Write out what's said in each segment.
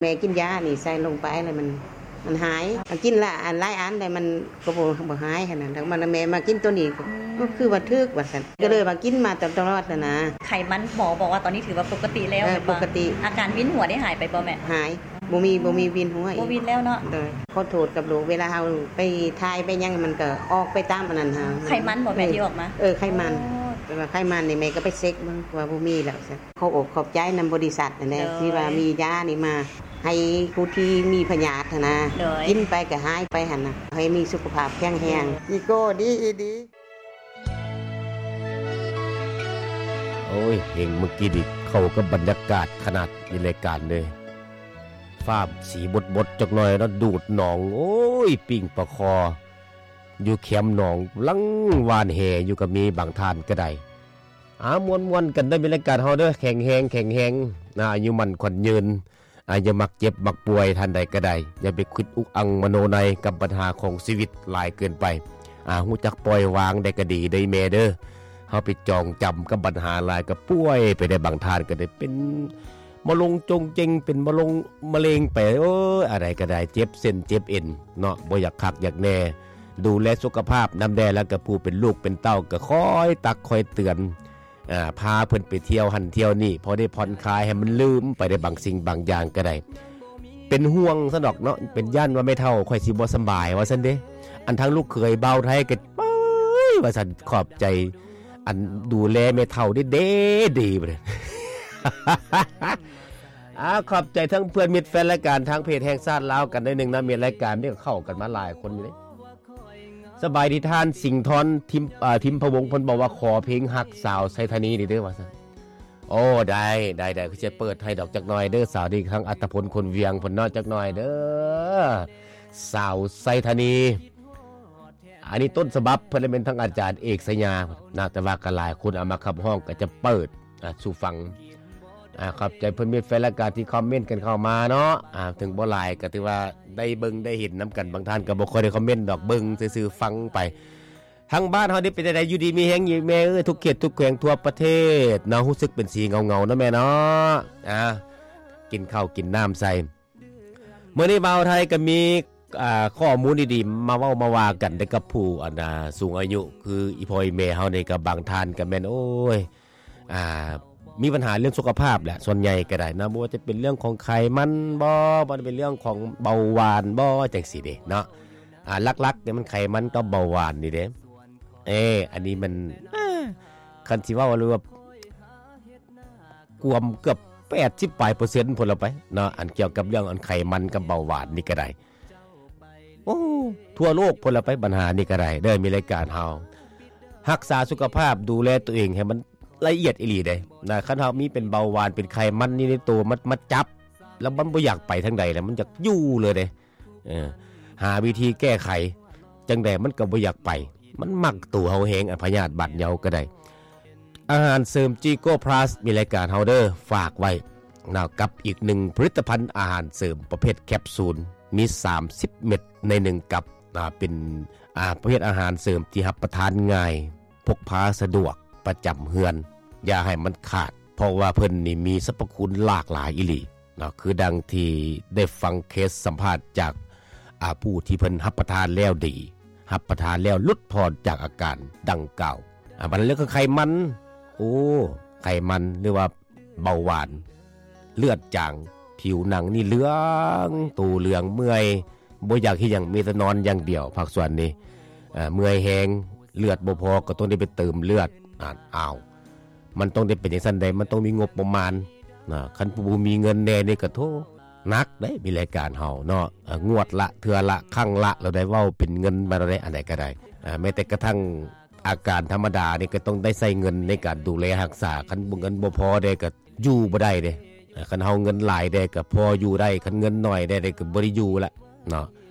ແມ່ກິນຢານີ້ໃສ່ລົງໄປແລ້ວມັນ ມັນຫາຍ ກິນລະອັນຫຼາຍອັນແລ້ວມັນກໍບໍ່ ບໍ່ຫາຍຫັ້ນນະ ແລ້ວມັນ ແມ່ມາກິນໂຕນີ້ ອືມ ກໍຄືວ່າຖືກວ່າຊັ້ນ ກໍເລີຍວ່າກິນມາຕະ ຕະຫຼອດຫັ້ນນະ. ໄຂມັນ ໝໍບອກວ່າຕອນນີ້ຖືວ່າປົກກະຕິແລ້ວ ເອີ ແມ່ນບໍ່? ປົກກະຕິ. ອາການວິນຫົວໄດ້ຫາຍໄປບໍ່ແມ່? ຫາຍ ບໍ່ມີ ບໍ່ມີວິນຫົວອີກ ບໍ່ວິນແລ້ວເນາະ. ໂດຍ ຂໍໂທດກັບລູກ ເວລາເຮົາໄປຖ່າຍໄປຫຍັງ ມັນກໍອອກໄປຕາມອັນນັ້ນເຮົາ. ໄຂມັນບໍ່ແມ່ ທີ່ອອກມາ? ເອີ ໄຂມັນ. ອໍ ແຕ່ວ່າໄຂມັນນີ້ແມ່ກໍໄປເຊັກເບິ່ງວ່າບໍ່ມີແລ້ວຊັ້ນ. ຂໍອົບຂອບໃຈນຳບໍລິສັດນັ້ນແຫຼະ ໂດຍ ທີ່ວ່າມີຢານີ້ມາໃຫ້ຜູ້ທີ່ມີພະຍາດຫັ້ນນະ ໂດຍ ກິນໄປກໍຫາຍໄປຫັ້ນນະ ໃຫ້ມີສຸຂະພາບແຂງແຮງ ໂດຍ ອີໂກ້ດີອີດີ. ໂອ້ຍ ເພງມື້ກີ້ນີ້ເຂົ້າກັບບັນຍາກາດຂະໜາດ ມີລາຍການເດ້ ຟ້າມສີບົດໆ ຈັກໜ່ອຍເນາະ ດູດໜອງ ໂອ້ຍ ປີ້ງປາຄໍ ຢູ່ແຄມໜອງ ລັງຫວ່ານແຫຢູ່ກໍມີ ບາງທ່ານກໍໄດ້. ອາ ມ່ວນໆ ກັນເດີ ມີລາຍການເຮົາເດີ ແຂງແຮງ ແຂງແຮງ ອາ ອາຍຸໝັ້ນຂວັນຍືນ ອາ ຢ່າມັກເຈັບມັກປ່ວຍ ທ່ານໃດກໍໄດ້ ຢ່າໄປຄິດອຸກອັ່ງມະໂນໃນກັບບັນຫາຂອງຊີວິດຫຼາຍເກີນໄປ ອາ ຮູ້ຈັກປ່ອຍວາງໄດ້ກໍດີເດີແມ່ເດີ ເຮົາໄປຈອງຈຳກັບບັນຫາຫຼາຍກໍປ່ວຍໄປໄດ້ ບາງທ່ານກໍໄດ້ເປັນມະລົງຈົງເຈັງ ເປັນມະລົງມະເລັງໄປ ໂອ້ຍ ອັນໃດກໍໄດ້ ເຈັບເສັ້ນເຈັບເອັນເນາະ ບໍ່ຢາກຄັກຢາກແນ່ ດູແລສຸຂະພາບນຳແດ່ ແລ້ວກໍຜູ້ເປັນລູກເປັນເຕົ້າກໍຄອຍຕັກຄອຍເຕືອນ ອາ ພາເພິ່ນໄປທ່ຽວຫັ້ນທ່ຽວນີ້ ພໍໄດ້ຜ່ອນຄາຍໃຫ້ມັນລືມໄປໄດ້ບາງສິ່ງບາງຢ່າງກໍໄດ້ ເປັນຫ່ວງຊັ້ນດອກເນາະ ເປັນຢ້ານວ່າແມ່ເຖົ້າຂ້ອຍຊິບໍ່ສະບາຍວ່າຊັ້ນເດ້. ອັນທາງລູກເຂີຍບ່າວໄທກໍ ເອີຍ ວ່າຊັ້ນ ຂອບໃຈ ອັນດູແລແມ່ເຖົ້າເດ້ ເດ້ດີ ອາ ຂອບໃຈທັງເພື່ອນມິດແຟນລາຍການທາງເພຈແຫ່ງຊາດລາວກັນໜ້ອຍໜຶ່ງນະ ມີລາຍການນີ້ກໍເຂົ້າກັນມາຫຼາຍຄົນຢູ່ເດ້. ສະບາຍດີທ່ານ ສິງທອນ ທິມ ເອີ ທິມພະວົງ ເພິ່ນບອກວ່າຂໍເພງຮັກສາວໄຊທານີນີ້ເດີວ່າຊັ້ນ. ໂອ້ ໄດ້ ໄດ້ ໄດ້ ຄືຈະເປີດໃຫ້ດອກຈັກໜ່ອຍເດີ ສາວນີ້ ທັງອັດຕະພົນ ຄົນວຽງ ເພິ່ນເນາະ ຈັກໜ່ອຍເດີ ສາວໄຊທານີ. ອັນນີ້ຕົ້ນສະບັບເພິ່ນແມ່ນທັງອາຈານເອກໄຊຍານະ ແຕ່ວ່າກໍຫຼາຍຄົນເອົາມາຂັບຮ້ອງ ກໍຈະເປີດ ອ່າ ສູ່ຟັງ. ອ່າ ຂອບໃຈເພື່ອນມິດແຟນລາຍການທີ່ຄອມເມັນກັນເຂົ້າມາເນາະ ອ່າ ເຖິງບໍ່ຫຼາຍກໍຖືວ່າໄດ້ເບິ່ງໄດ້ເຫັນນຳກັນ ບາງທ່ານກໍບໍ່ຄ່ອຍໄດ້ຄອມເມັນດອກ ເບິ່ງຊື່ໆ ຟັງໄປ. ທາງບ້ານເຮົານີ້ເປັນຈັ່ງໃດ ຢູ່ດີມີແຮງຢູ່ແມ່ເອີຍ ທຸກເຂດທຸກແຂວງທົ່ວປະເທດເນາະ ຮູ້ສຶກເປັນສີເຫງົາໆ ເນາະແມ່ເນາະ ອ່າ ກິນເຂົ້າກິນນ້ຳໃສ່. ມື້ນີ້ບ່າວໄທກໍມີ ອ່າ ຂໍ້ມູນດີໆ ມາເວົ້າມາວ່າກັນໄດ້ກັບຜູ້ ອັນ ອ່າ ສູງອາຍຸ ຄືອີ່ພໍ່ອີ່ແມ່ເຮົານີ້ ກໍບາງທ່ານກໍແມ່ນ ໂອ້ຍ ອ່າ ມີບັນຫາເລື່ອງສຸຂະພາບແຫຼະ ສ່ວນໃຫຍ່ກໍໄດ້ເນາະ ບໍ່ວ່າຈະເປັນເລື່ອງຂອງໄຂມັນບໍ ບໍ່ວ່າຈະເປັນເລື່ອງຂອງເບົາຫວານບໍ ຈັ່ງຊີ້ເດ້ເນາະ. ອ່າ ຫຼັກໆ ນີ້ມັນໄຂມັນກັບເບົາຫວານນີ້ເດ້ ເອີ ອັນນີ້ມັນ ເອີ ຄັນຊິເວົ້າເລີຍວ່າ ກວມເກືອບແປດສິບປາຍເປີເຊັນພຸ້ນລະໄປເນາະ ອັນກ່ຽວກັບເລື່ອງອັນໄຂມັນກັບເບົາຫວານນີ້ກໍໄດ້. ໂອ້ ທົ່ວໂລກພຸ້ນລະໄປ ບັນຫານີ້ກໍໄດ້ເດີ ມີລາຍການເຮົາ ຮັກສາສຸຂະພາບ ດູແລຕົວເອງໃຫ້ມັນລະອຽດອີ່ຫຼີເດ້ນະ ຄັນເຮົາມີເປັນເບົາຫວານ ເປັນໄຂມັນນີ້ໃນໂຕ ມັນມາຈັບ ແລ້ວມັນບໍ່ຢາກໄປທາງໃດ ແລ້ວມັນຢາກຢູ່ເລີຍເດ້. ເອີ ຫາວິທີແກ້ໄຂຈັ່ງໃດມັນກໍບໍ່ຢາກໄປ ມັນມັກໂຕເຮົາແຮງ ອາ ພະຍາດບາດເຍົາກໍໄດ້. ອາຫານເສີມຈີໂກພລັສ ມີລາຍການເຮົາເດີ ຝາກໄວ້ນະ ກັບອີກໜຶ່ງຜະລິດຕະພັນອາຫານເສີມປະເພດແຄບຊູນ ມີສາມສິບເມັດໃນໜຶ່ງກັບນະ ເປັນ ອາ ປະເພດອາຫານເສີມທີ່ຮັບປະທານງ່າຍ ພົກພາສະດວກ ປະຈຳເຮືອນ ຢ່າໃຫ້ມັນຂາດ ເພາະວ່າເພິ່ນນີ້ມີສັບພະຄຸນຫຼາກຫຼາຍອີ່ຫຼີເນາະ ຄືດັ່ງທີ່ໄດ້ຟັງເຄສສຳພາດຈາກ ອາ ຜູ້ທີ່ເພິ່ນຮັບປະທານແລ້ວດີ ຮັບປະທານແລ້ວຫຼຸດຜ່ອນຈາກອາການດັ່ງກ່າວ. ອາ ບັດເລື່ອງຂອງໄຂມັນ ໂອ້ ໄຂມັນ ຫຼືວ່າເບົາຫວານ ເລືອດຈາງ ຜິວໜັງນີ້ເຫຼືອງ ໂຕເຫຼືອງ ເມື່ອຍ ບໍ່ຢາກເຮັດຫຍັງ ມີແຕ່ນອນຢ່າງດຽວ ພາກສ່ວນນີ້ ເອີ ເມື່ອຍແຮງ ເລືອດບໍ່ພໍ ກໍຕ້ອງໄດ້ໄປເຕີມເລືອດ. ອາ ອ້າວ ມັນຕ້ອງໄດ້ເປັນຈັ່ງຊັ້ນໃດ ມັນຕ້ອງມີງົບປະມານນະ ຄັນຜູ້ບໍ່ມີເງິນແດ່ນີ້ກໍ ໂທ້ ໜັກເດ້ ມີລາຍການເຮົາເນາະ ເອີ ງວດລະ ເທື່ອລະ ຄັ້ງລະ ແລ້ວໄດ້ເວົ້າເປັນເງິນມາແລ້ວເດ້ ອັນໃດກໍໄດ້ ເອີ ແມ້ແຕ່ກະທັ່ງອາການທຳມະດານີ້ ກໍຕ້ອງໄດ້ໃຊ້ເງິນໃນການດູແລຮັກສາ ຄັນບໍ່ ເງິນບໍ່ພໍແດ່ກໍ ຢູ່ບໍ່ໄດ້ເດ້. ເອີ ຄັນເຮົາເງິນຫຼາຍແດ່ກໍພໍຢູ່ໄດ້ ຄັນເງິນໜ້ອຍແດ່ ກໍບໍ່ໄດ້ຢູ່ລະເນາະ.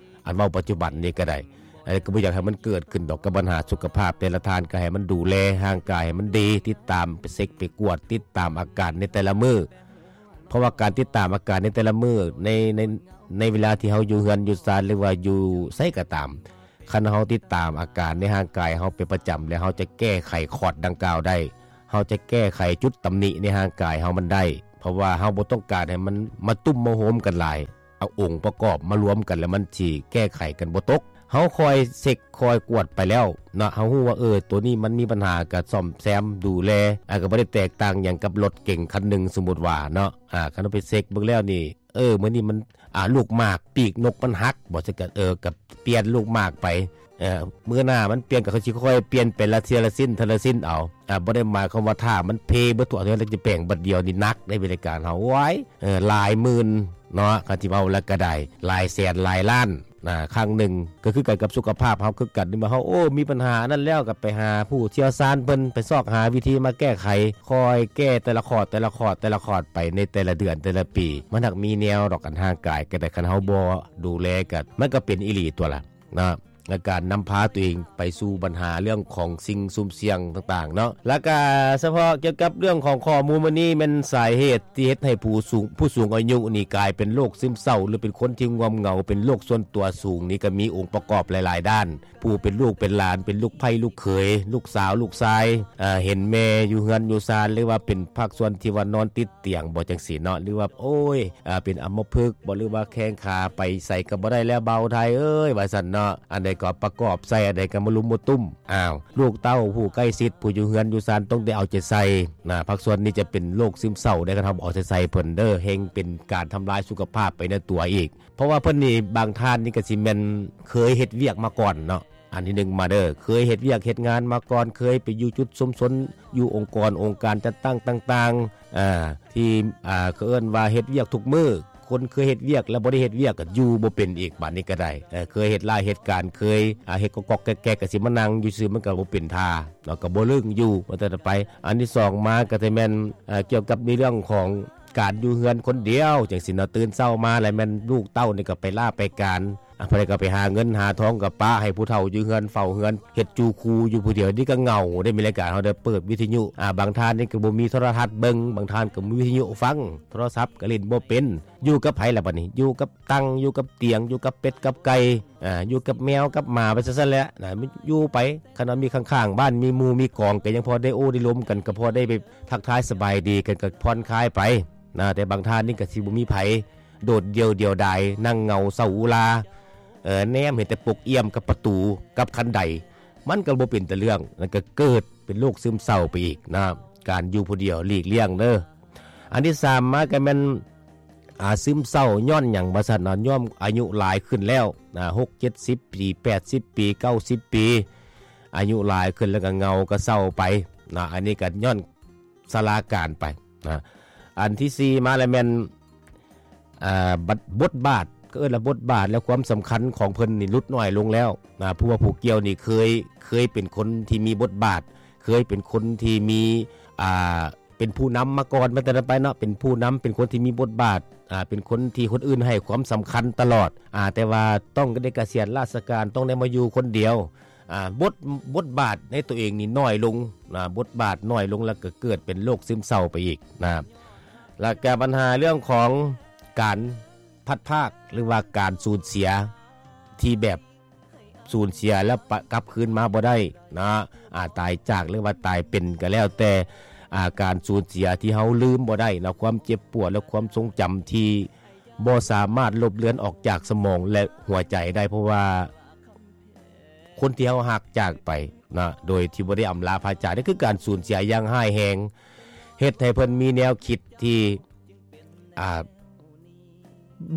ອັນເວົ້າປັດຈຸບັນນີ້ກໍໄດ້ ອັນນີ້ກໍບໍ່ຢາກໃຫ້ມັນເກີດຂຶ້ນດອກ ກັບບັນຫາສຸຂະພາບ ແຕ່ລະທ່ານກໍໃຫ້ມັນດູແລຮ່າງກາຍໃຫ້ມັນດີ ຕິດຕາມໄປເຊັກໄປກວດ ຕິດຕາມອາການໃນແຕ່ລະມື້ ເພາະວ່າການຕິດຕາມອາການໃນແຕ່ລະມື້ ໃນ ໃນ ໃນເວລາທີ່ເຮົາຢູ່ເຮືອນຢູ່ຊານ ຫຼືວ່າຢູ່ໃສກໍຕາມ ຄັນເຮົາຕິດຕາມອາການໃນຮ່າງກາຍເຮົາເປັນປະຈຳ ແລ້ວເຮົາຈະແກ້ໄຂຂອດດັ່ງກ່າວໄດ້ ເຮົາຈະແກ້ໄຂຈຸດຕຳໜິໃນຮ່າງກາຍເຮົາມັນໄດ້ ເພາະວ່າເຮົາບໍ່ຕ້ອງການໃຫ້ມັນມາຕຸ້ມມາໂຮມກັນຫຼາຍ. ເອົາອົງປະກອບມາລວມກັນ ແລ້ວມັນຊິແກ້ໄຂກັນບໍ່ຕົກ. ເຮົາຄອຍເຊັກຄອຍກວດໄປແລ້ວເນາະ ເຮົາຮູ້ວ່າ ເອີ ໂຕນີ້ມັນມີບັນຫາ ກໍສ້ອມແຊມດູແລ ອາ ກໍບໍ່ໄດ້ແຕກຕ່າງຫຍັງກັບລົດເກັງຄັນໜຶ່ງ ສົມມຸດວ່າເນາະ. ອາ ຄັນເຮົາໄປເຊັກເບິ່ງແລ້ວນີ້ ເອີ ມື້ນີ້ມັນ ອາ ລູກໝາກປີກນົກມັນຫັກບໍ ຊັ້ນກໍ ເອີ ກໍປ່ຽນລູກໝາກໄປ. ເອີ ມື້ໜ້າມັນປ່ຽນ ກໍຄ່ອຍຊິຄ່ອຍປ່ຽນໄປລະເທື່ອລະຊິ້ນ ເທື່ອລະຊິ້ນເອົາ. ອາ ບໍ່ໄດ້ໝາຍຄວາມວ່າຖ້າມັນເພເບິດທົ່ວເທື່ອ ແລ້ວຈະແປງບັດດຽວນີ້ໜັກເດ້ ບໍລິການເຮົາ ໂອ້ຍ ເອີ ຫຼາຍໝື່ນເນາະ ຄັນຊິເວົ້າແລ້ວກໍໄດ້ ຫຼາຍແສນຫຼາຍລ້ານນະ ຄັ້ງໜຶ່ງ. ກໍຄືກັນກັບສຸຂະພາບເຮົາຄືກັນ ເມື່ອເຮົາ ໂອ້ ມີບັນຫາອັນນັ້ນແລ້ວ ກໍໄປຫາຜູ້ຊ່ຽວຊານເພິ່ນ ໄປຊອກຫາວິທີມາແກ້ໄຂ ຄ່ອຍແກ້ແຕ່ລະຂອດ ແຕ່ລະຂອດ ແຕ່ລະຂອດໄປໃນແຕ່ລະເດືອນ ແຕ່ລະປີ. ມັນຫາກມີແນວດອກ ອັນຮ່າງກາຍກໍໄດ້ ຄັນເຮົາບໍ່ດູແລກໍ ມັນກໍເປັນອີ່ຫຼີຕົວະລະ. ນະ ແລະ ການນຳພາຕົວເອງໄປສູ່ບັນຫາເລື່ອງຂອງສິ່ງສຸ່ມສ່ຽງຕ່າງໆເນາະ. ແລ້ວກະສະເພາະກ່ຽວກັບເລື່ອງຂອງຂໍ້ມູນມື້ນີ້ ແມ່ນສາເຫດທີ່ເຮັດໃຫ້ຜູ້ສູງ ຜູ້ສູງອາຍຸນີ້ກາຍເປັນໂລກຊຶມເສົ້າ ຫຼື ເປັນຄົນທີ່ງ່ວມເຫງົາ ເປັນໂລກສ່ວນຕົວສູງນີ້ ກໍມີອົງປະກອບຫຼາຍໆດ້ານ. ຜູ້ເປັນລູກເປັນຫຼານ ເປັນລູກໃພ້ລູກເຂີຍ ລູກສາວລູກຊາຍ ເຫັນແມ່ຢູ່ເຮືອນຢູ່ຊານ ຫຼືວ່າເປັນພາກສ່ວນທີ່ວ່ານອນຕິດຕຽງບໍ ຈັ່ງຊີ້ເນາະ ຫຼືວ່າ ໂອ້ຍ ເປັນອຳມະພຶກບໍ ຫຼືວ່າແຂ້ງຂາໄປໃສກໍບໍ່ໄດ້ແລ້ວ ເບົາໄທເອີຍ ວ່າຊັ້ນເນາະ. ອັນໃດກໍປະກອບໃສ່ ອັນໃດກໍມາລຸມມາຕຸ້ມ. ອ້າວ ລູກເຕົ້າຜູ້ໃກ້ຊິດ ຜູ້ຢູ່ເຮືອນຢູ່ຊານ ຕ້ອງໄດ້ເອົາໃຈໃສ່ນະ. ພາກສ່ວນນີ້ຈະເປັນໂລກຊຶມເສົ້າໄດ້ ຄັນເຮົາບໍ່ເອົາໃຈໃສ່ເພິ່ນເດີ ແຮ່ງເປັນການທຳລາຍສຸຂະພາບໄປໃນຕົວອີກ. ເພາະວ່າເພິ່ນນີ້ ບາງທ່ານນີ້ກໍຊິແມ່ນເຄີຍເຮັດວຽກມາກ່ອນເນາະ. ອັນທີໜຶ່ງມາເດີ ເຄີຍເຮັດວຽກເຮັດງານມາກ່ອນ ເຄີຍໄປຢູ່ຈຸດຊຸມຊົນ ຢູ່ອົງກອນອົງການຈັດຕັ້ງຕ່າງໆ ອາ ທີ່ ອາ ເຂົາເອີ້ນວ່າເຮັດວຽກທຸກມື້. ຄົນເຄີຍເຮັດວຽກແລ້ວບໍ່ໄດ້ເຮັດວຽກ ກໍຢູ່ບໍ່ເປັນອີກ ບາດນີ້ກໍໄດ້. ເອີ ເຄີຍເຮັດລາຍເຮັດການ ເຄີຍ ອາ ເຮັດກອກໆແກກໆ ກໍຊິມານັ່ງຢູ່ຊື່ ມັນກໍບໍ່ເປັນທ່າເນາະ ກໍບໍ່ລຶ້ງຢູ່ ວ່າແຕ່ໄປ. ອັນທີສອງມາກໍຈະແມ່ນ ອາ ກ່ຽວກັບໃນເລື່ອງຂອງ ການຢູ່ເຮືອນຄົນດຽວຈັ່ງຊີ້ເນາະ. ຕື່ນເຊົ້າມາແລ້ວແມ່ນລູກເຕົ້ານີ້ກໍໄປລາໄປການ ອາ ຜູ້ໃດກໍໄປຫາເງິນຫາທອງ ກໍປະໃຫ້ຜູ້ເຖົ້າຢູ່ເຮືອນເຝົ້າເຮືອນ ເຮັດຈູ່ຄູຢູ່ຜູ້ດຽວ ນີ້ກໍເຫງົາເດ້. ມີລາຍການເຮົາໄດ້ເປີດວິທະຍຸ ອາ ບາງທ່ານນີ້ກໍບໍ່ມີໂທລະທັດເບິ່ງ ບາງທ່ານກໍບໍ່ມີວິທະຍຸຟັງ ໂທລະສັບກໍຫຼິ້ນບໍ່ເປັນ. ຢູ່ກັບໃຜລະບັດນີ້? ຢູ່ກັບຕັ່ງ ຢູ່ກັບຕຽງ ຢູ່ກັບເປັດກັບໄກ່ ອາ ຢູ່ກັບແມວກັບໝາໄປຊັ້ນໆແຫຼະນະ ຢູ່ໄປ. ຄັນວ່າມີຂ້າງໆບ້ານ ມີໝູ່ມີກອງ ກໍຍັງພໍໄດ້ໂອ້ໄດ້ລົມກັນ ກໍພໍໄດ້ໄປທັກທາຍສະບາຍດີກັນ ກໍຜ່ອນຄາຍໄປນະ. ແຕ່ບາງທ່ານນີ້ກໍຊິບໍ່ມີໃຜ ໂດດດ່ຽວດຽວດາຍ ນັ່ງເຫງົາເສົ້າອຸລາ ເອີ ແນມເຫັນແຕ່ປົກອ້ຽມກັບປະຕູກັບຄັນໄດ ມັນກໍບໍ່ເປັນຕາເລື່ອງ. ນັ້ນກໍເກີດເປັນໂລກຊຶມເສົ້າໄປອີກນະ. ການຢູ່ຜູ້ດຽວຫຼີກລ່ຽງເດີ. ອັນທີສາມມາກໍແມ່ນ ອາ ຊຶມເສົ້າຍ້ອນຫຍັງວ່າຊັ້ນເນາະ? ຍ້ອນອາຍຸຫຼາຍຂຶ້ນແລ້ວນະ ຫົກເຈັດສິບປີ ແປດສິບປີ ເກົ້າສິບປີ ອາຍຸຫຼາຍຂຶ້ນແລ້ວກໍເຫງົາກໍເສົ້າໄປນະ. ອັນນີ້ກໍຍ້ອນຊະລາການໄປນະ. ອັນທີສີ່ມາແລ້ວແມ່ນ ອ່າ ບົດ ບົດບາດ ກໍເອີ້ນວ່າບົດບາດ ແລະ ຄວາມສຳຄັນຂອງເພິ່ນນີ້ຫຼຸດນ້ອຍລົງແລ້ວນະ. ຜູ້ວ່າຜູ້ກ່ຽວນີ້ເຄີຍ ເຄີຍເປັນຄົນທີ່ມີບົດບາດ ເຄີຍເປັນຄົນທີ່ມີ ອ່າ ເປັນຜູ້ນຳມາກ່ອນ ແມ່ນແຕ່ນັ້ນໄປເນາະ ເປັນຜູ້ນຳ ເປັນຄົນທີ່ມີບົດບາດ ອ່າ ເປັນຄົນທີ່ຄົນອື່ນໃຫ້ຄວາມສຳຄັນຕະຫຼອດ ອ່າ ແຕ່ວ່າຕ້ອງໄດ້ກະສຽນລາຊະການ ຕ້ອງໄດ້ມາຢູ່ຄົນດຽວ ອ່າ ບົດ ບົດບາດໃນຕົວເອງນີ້ນ້ອຍລົງນະ ບົດບາດນ້ອຍລົງ ແລ້ວກໍເກີດເປັນໂລກຊຶມເສົ້າໄປອີກນະ. ແລ້ວກໍບັນຫາເລື່ອງຂອງການພັດພາກ ຫຼືວ່າການສູນເສຍທີ່ແບບ ສູນເສຍແລ້ວປະ ກັບຄືນມາບໍ່ໄດ້ນະ ອາ ຕາຍຈາກ ຫຼືວ່າຕາຍເປັນກໍແລ້ວແຕ່ ອາ ການສູນເສຍທີ່ເຮົາລືມບໍ່ໄດ້ນະ ຄວາມເຈັບປວດ ແລະ ຄວາມຊົງຈຳທີ່ບໍ່ສາມາດລົບເລືອນອອກຈາກສະໝອງ ແລະ ຫົວໃຈໄດ້ ເພາະວ່າຄົນທີ່ເຮົາຮັກຈາກໄປນະ ໂດຍທີ່ບໍ່ໄດ້ອຳລາພາຈາກ ນີ້ຄືການສູນເສຍຢ່າງຮ້າຍແຮງ ເຮັດໃຫ້ເພິ່ນມີແນວຄິດທີ່ ອ່າ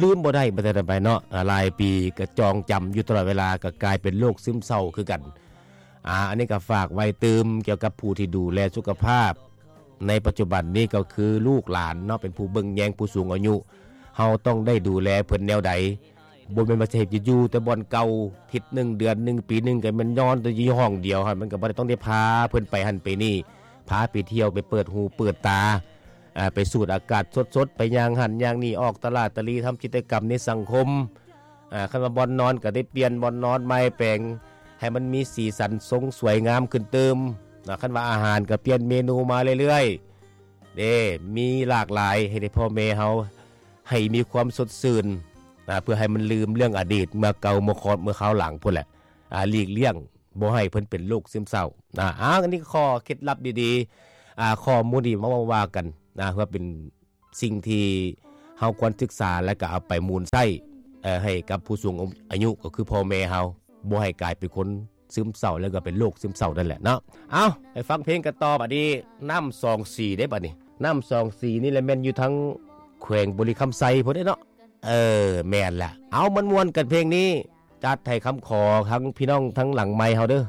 ລືມບໍ່ໄດ້ ບໍ່ທັນໄປເນາະ ອາ ຫຼາຍປີກໍຈອງຈຳຢູ່ຕະຫຼອດເວລາ ກໍກາຍເປັນໂລກຊຶມເສົ້າຄືກັນ. ອາ ອັນນີ້ກໍຝາກໄວ້ຕື່ມກ່ຽວກັບຜູ້ທີ່ດູແລສຸຂະພາບໃນປັດຈຸບັນນີ້ ກໍຄືລູກຫຼານເນາະ ເປັນຜູ້ເບິ່ງແຍງຜູ້ສູງອາຍຸ ເຮົາຕ້ອງໄດ້ດູແລເພິ່ນແນວໃດ? ບໍ່ແມ່ນວ່າຊິໃຫ້ຢູ່ແຕ່ບ່ອນເກົ່າ ທິດໜຶ່ງ ເດືອນໜຶ່ງ ປີໜຶ່ງ ກໍແມ່ນນອນແຕ່ຢູ່ຫ້ອງດຽວຫັ້ນ ມັນກໍບໍ່ໄດ້ ຕ້ອງໄດ້ພາເພິ່ນໄປຫັ້ນໄປນີ້ ພາໄປທ່ຽວ ໄປເປີດຫູເປີດຕາ ອ່າ ໄປສູດອາກາດສົດໆ ໄປຍ່າງຫັ້ນຍ່າງນີ້ ອອກຕະຫຼາດຕະຫຼີ ທຳກິດຈະກຳໃນສັງຄົມ ອ່າ ຄັນວ່າບ່ອນນອນກໍໄດ້ປ່ຽນບ່ອນນອນໃໝ່ແປງ ໃຫ້ມັນມີສີສັນຊົງສວຍງາມຂຶ້ນຕື່ມນະ ຄັນວ່າອາຫານກໍປ່ຽນເມນູມາເລື້ອຍໆ ເດ້ ມີຫຼາກຫຼາຍ ໃຫ້ໄດ້ພໍ່ແມ່ເຮົາ ໃຫ້ມີຄວາມສົດຊື່ນນະ ເພື່ອໃຫ້ມັນລືມເລື່ອງອະດີດ ເມື່ອເກົ່າເມື່ອຄອດ ເມື່ອຄາວຫຼັງພຸ້ນແຫຼະ ອ່າ ຫຼີກລ່ຽງ ບໍ່ໃຫ້ເພິ່ນເປັນໂລກຊຶມເສົ້ານະ. ອາ ອັນນີ້ຂໍ້ເຄັດລັບດີໆ ອາ ຂໍ້ມູນດີ ມາເວົ້າວ່າກັນນະ ເພື່ອເປັນ ສິ່ງທີ່ເຮົາຄວນສຶກສາ ແລ້ວກໍເອົາໄປໝູນໃຊ້ ເອີ ໃຫ້ກັບຜູ້ສູງອາຍຸ ກໍຄືພໍ່ແມ່ເຮົາ ບໍ່ໃຫ້ກາຍເປັນຄົນຊຶມເສົ້າ ແລ້ວກໍເປັນໂລກຊຶມເສົ້ານັ້ນແຫຼະເນາະ. ເອົ້າ ໄປຟັງເພງກັນຕໍ່ບາດນີ້ ນ້ຳສອງສີເດ້ບາດນີ້ ນ້ຳສອງສີນີ້ແຫຼະ ແມ່ນຢູ່ທາງແຂວງບໍລິຄຳໄຊພຸ້ນເດ້ເນາະ. ເອີ ແມ່ນລະ ເອົາ ມ່ວນໆ ກັນເພງນີ້ ຈັດໃຫ້ຄຳຂໍທັງພີ່ນ້ອງທັງຫຼັງໄມເຮົາເດີ້.